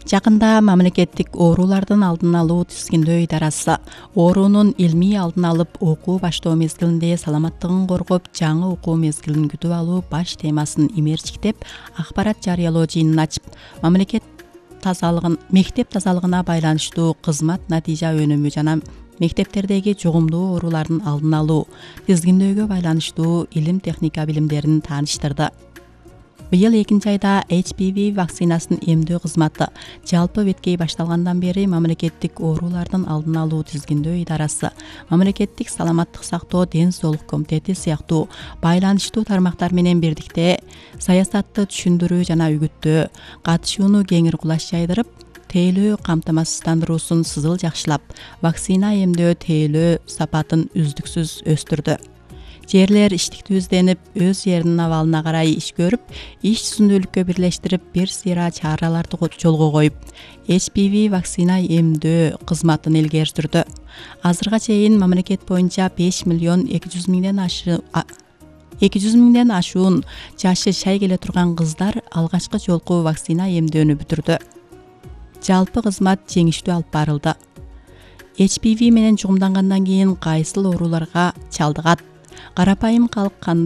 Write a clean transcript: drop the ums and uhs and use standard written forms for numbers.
Жакында мамлекеттик оорулардын алдын алуу тизгиндөө идарасы оорунун илмий алдын алып окуу баштоо мезгилинде саламаттыгын коргоп, жаңы окуу мезгилин күтүп алуу баш темасын имерчиктеп, акпарат жарыялоо жыйынын ачып, мектеп тазалыгына байланыштуу кызмат натыйжа өнүмү жана мектептердеги жугумдуу оорулардын алдын алуу тизгиндөөгө байланыштуу илим техника билимдерин тааныштырды. Быйыл 2-айда HPV вакцинасын эмдөө кызматы жалпы беткей башталгандан бери мамлекеттик оорулардын алдын алуу тизгиндөө идарасы, мамлекеттик саламаттык сактоо ден соолук комитети сыяктуу байланыштуу тармактар менен бирдикте саясатты түшүндүрүү жана үгүттөө, катышууну кеңири кулаш жайдырып, тейлөө камтамасыздандыруусун сызыл жакшылап, вакцина эмдөө тейлөө сапатын үздүксүз өстүрдү. Жерлер иштиктүү изденип, өз жеринин абалына карай иш көрүп, иш түзүндүүлүккө бирлештирип, бир сыйра чараларды жолго коюп, HPV вакцина эмдөө кызматын илгери сүрдү. Азырга чейин мамлекет боюнча 5 миллион 200 миңден ашуун жашы шай келе турган кыздар алгачкы жолку вакцина эмдөөнү бүтүрдү. Жалпы кызмат жеңиштүү алып барылды. HPV менен чугумдангандан кийин кайсыл ооруларга чалдыгат? Карапайым калк